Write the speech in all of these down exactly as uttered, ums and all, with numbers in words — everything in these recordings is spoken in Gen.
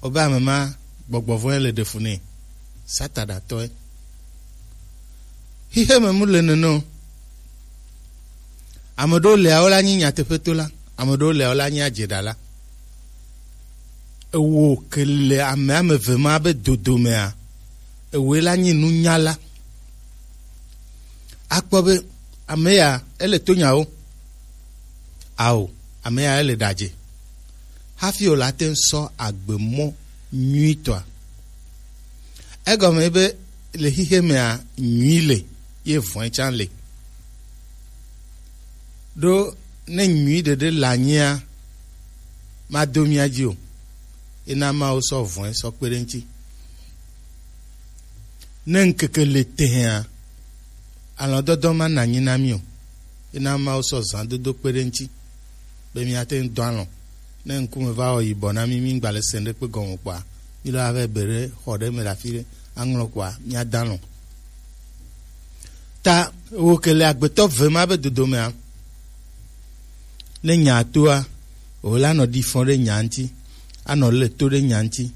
Obe ame ma gbɔgbɔ vɔ̃e le ɖe fu nɛ. Sataɖatɔe. Xixe me mu le nene o. Ame ɖewo lea wo la nyi nyateƒe to la, ame ɖewo lea wo la nyi adze ɖa la. Ewo ke le ame ame eve ma be dodo mea, ewoe la nyi nunyala. Akpɔ be ame ya ele to nyawo. Ao, ame ya ele ɖadze. Hafi wòle ate ŋu sɔ agbe mɔ nyuitɔa. Egɔme be le xixe mea nyui le, ye vɔ̃e tsã le. Ɖo ne nyui ɖeɖe le anyia, mado mía dzi o. Ena Mawu sɔ vɔ̃e sɔ kpe ɖe ŋuti. Ne ŋkeke le tehea, alɔdɔdɔ ma na anyi na mí o. Ena Mawu sɔ zãdodo kpe ɖe ŋuti be míate ŋu dɔ alɔ̃. Ne ŋkume va wɔ yibɔ na mí, míŋgba le se ɖekpe gɔme kpɔa, mílɔ ava be ɖe xɔ ɖe me le afi ɖe, aŋlɔ kpɔa, míada alɔ̃. Ta wo ke le agbetɔ ve ma be dodomea, ne nya toa, wòle anɔ ɖi fɔ ɖe nya ŋuti, anɔ le to ɖe nya ŋuti,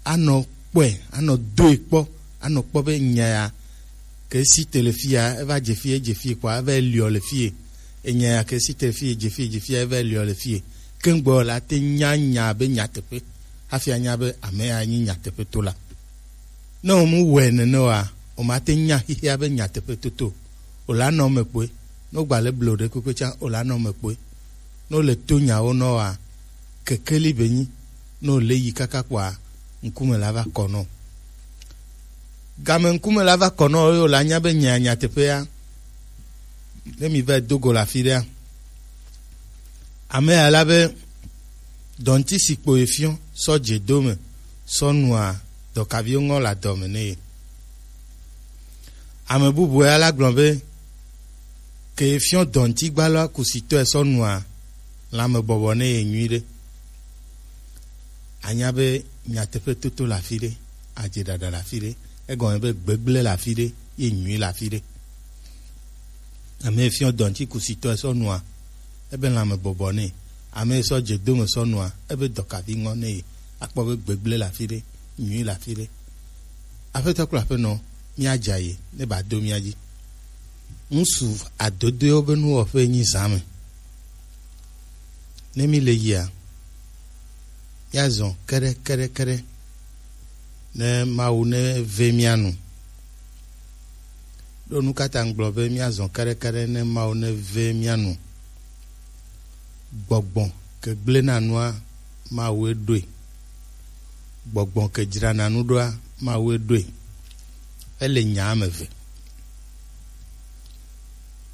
anɔ kpɔe, anɔ doe kpɔ, anɔ kpɔ be nya ya ke si te le fia, eva dze fie, edze fie kpɔa, eva liɔ le fie. Enya ya ke si te fie, dze fie, dze fie, eva liɔ le fie. Ke ŋgbɔ la te nya nya be nyateƒe, hafi anya be ame ya nyi nyateƒe to la. Ne wòmu wɔe nene oa, wòmate ŋu nya xexea be nyateƒe toto o. Wòle anɔ eme kpoe. Ne wogba le ble ɖe kpekpe tsã, wòle anɔ eme kpoe. Ne wòle to nyawo nɔ oa, kekeli be nyi. Ne wòle yi kaka kpɔa, ŋkume la va kɔ nɔ. Game ŋkume la va kɔ nɔ eye wòle anya be nya nyateƒea. Ne mi va do go le afi ɖea, ame ya la be dɔnti si kpo efiɔ sɔ dze do me sɔ nua dɔkaviwo ŋɔ le adɔ me nɛ ye. Ame bubu ya la gblɔ be ke efiɔ dɔnti gbalɔa kusitɔe sɔ nua lãme bɔbɔ nɛ ye nyui ɖe. Anya be nyateƒe toto le afi ɖe, adze ɖaɖa le afi ɖe, egɔme be gbegblẽ le afi ɖe, ye nyui le afi ɖe. Ame fiɔ dɔnti kusitɔ sɔ nua, ebe lãme bɔbɔ nɛ. Ame sɔ dze dome sɔ nua, ebe dɔkavi ŋɔ nɛ ye. Akpɔ be gbegblẽ le afi ɖe, nyui le afi ɖe. Aƒetɔ kple aƒenɔ, míadza ye ne ba do mía dzi. Ŋsu adodoewo be nuwɔƒe nyi zã me. Ne mi le yia, míazɔ keɖe keɖe keɖe ne Mawu ne ve mía nu. Ɖo nu ka ta ŋgblɔ be míazɔ keɖe keɖe ne Mawu ne ve mía nu? Gbɔgbɔ ke gblẽ na nua, Mawue ɖoe. Gbɔgbɔ ke dzrana nu ɖoa, Mawue ɖoe. Ele nya ame eve.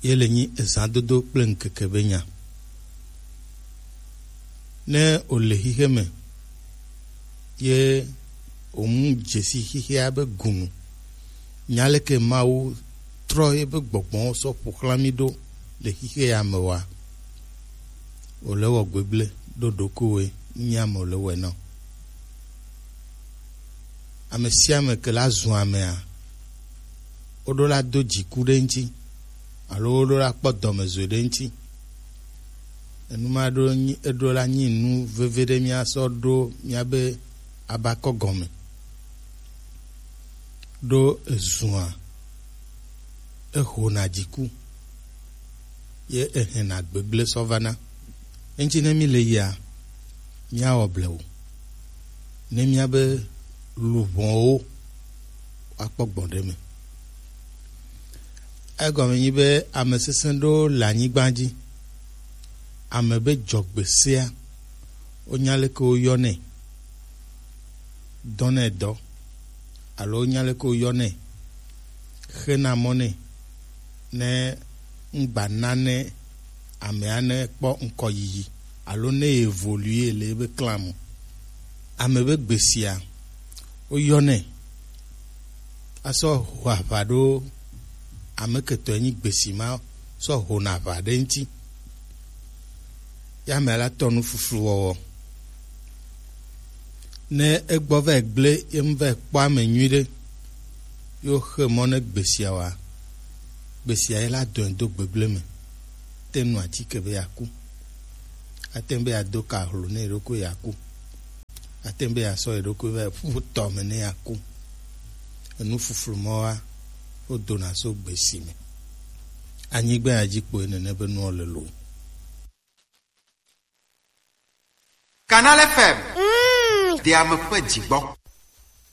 Ye le nyi ezãdodo kple ŋkeke be nya. Ne wòle xixe me, ye wòmu dzesi xixea be gunu. Nya leke Mawu trɔ ye be gbɔgbɔwo sɔ ƒo xlã mí ɖo le xixe ya me wa? Wòle wɔ gbegblẽ ɖo ɖokuiwòe, nye ame wòle wɔe na o. Ame sia ame ke la zu amea, woɖo la do dziku ɖe ŋuti, alo woɖo la kpɔ dɔmezɔe ɖe ŋuti. Enu ma ɖo nyi, eɖo la nyi nu veve ɖe míasɔ ɖo míabe abakɔ gɔme. Ɖo ezua, ehona dziku, ye ehena gbegblẽ sɔ vana. Eŋuti ne mi le yia, míawɔ blewu. Ne míabe luʋɔwo woakpɔ gbɔn ɖe me. Egɔme nyi be ame sesẽ ɖewo le anyigba dzi. Ame be dzɔgbe sea, wonya leke woyɔnɛ, dɔnɛ dɔ, alo wonya leke woyɔnɛ, xena mɔ nɛ, ne ŋgba na ne amea ne kpɔ ŋkɔyiyi, alo ne evolue le ebe clan me. Ame be gbesia, woyɔnɛ asɔ ho aʋa ɖo ame ketɔe nyi gbesi ma sɔ hona aʋa ɖe ŋuti. Ya ame la tɔ nu fuflu wɔwɔ. Ne egbɔ va gblẽ ye ŋu va kpɔ ame nyui ɖe, yo xe mɔ ne gbesia wa, gbesia ye la dɔe do gbegblẽ me. Te nu atike be yeaku. Ate ŋu be yeado ka hlo ne yeɖokui yeaku. Tɛn be yeasɔ yeɖokui va yi ƒu tɔ me ne yeaku. Enu fuflu mɔ wa, wodona so gbesi me. Anyigba ya dzi kpoe nene be nuwo le lo. Canal F M. Mm. Deame ƒe dzigbɔ.